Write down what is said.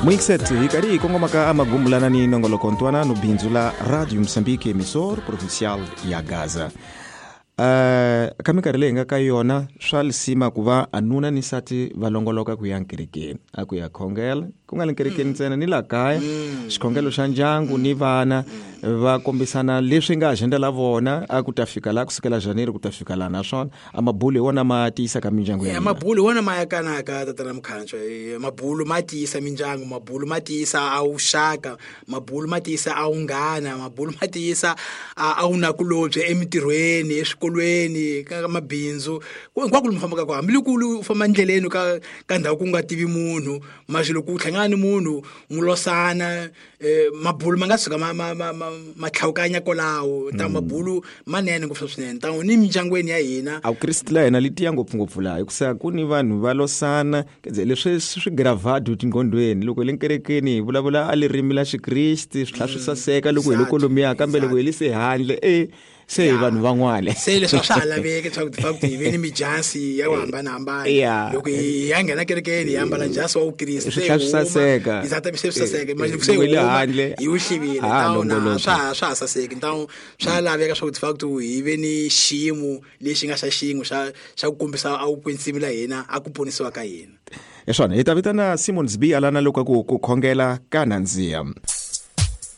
Muingiset hi karhi hi kongoma ka amagumbulana ni nongoloko ntwanano bindzu la Radio Moçambique, emissor provincial ya Gaza. Ka minkarhi leyi hi nga ka yona, swa lisima ku va a nuna ni nsati va longoloka ku ya nkerekeni, a ku ya khongela, ku nga le nkerekeni ntsena ni la kaya, xikhongelo xa ndyangu ni vana va kombisana leswi nga agenda la vona, a ku ta fika la kusukela Janeiro ku ta fika la, naswona a mabulu hi wona ma tiyisaka mindyangu ya hina. Mabulu hi wona ma yakanaka, tatana Mukhancho. Mabulu ma tiyisa mindyangu, mabulu ma tiyisa a vuxaka, mabulu ma tiyisa a vunghana, mabulu ma tiyisa a vunakulobye emitirhweni, eswikolweni, ka mabindzu, hinkwako lomu fambaka kona. Hambiloko u famba endleleni ka ndhawu ku nga tivi munhu, masi loko u hlangana ni munhu n'wi losana, mabulu ma nga tshuka ma tlhawukanya kwalaho. Ta mabulu manene ngopfu swinene ta ni mindyangwini ya hina. A Vukriste la hina li tiya ngopfungopfu laha, hikusa ku ni vanhu va losana leswi swi gravado tinqondweni. Loko hi le nkerekeni hi vulavula a ririmi la Xikriste, swi tlhela swi saseka loko hi le kolomiya, kambe loko hi le se handle se hi vanhu van'wana. Se leswi a swa ha laveki leswaku ti hi ve ni mijasi ya ku hambanahambana. Loko hi ya nghena kerekeni hi ambala jasi wa Vukriste, swi tlhela swi saseka. Se swi saseka. Manje loko se hi le handle hi wu hlivile, tawuna swa ha saseki. Ntawu swa laveka swa ku ti hi ve ni xiyimo lexi nga xa xin'we xa ku kombisa a vukwetsimi la hina, a ku ponisiwa ka hina. Hi swona, hi ta vitana Simon Zbi alana loko ku khongela ka nandziha.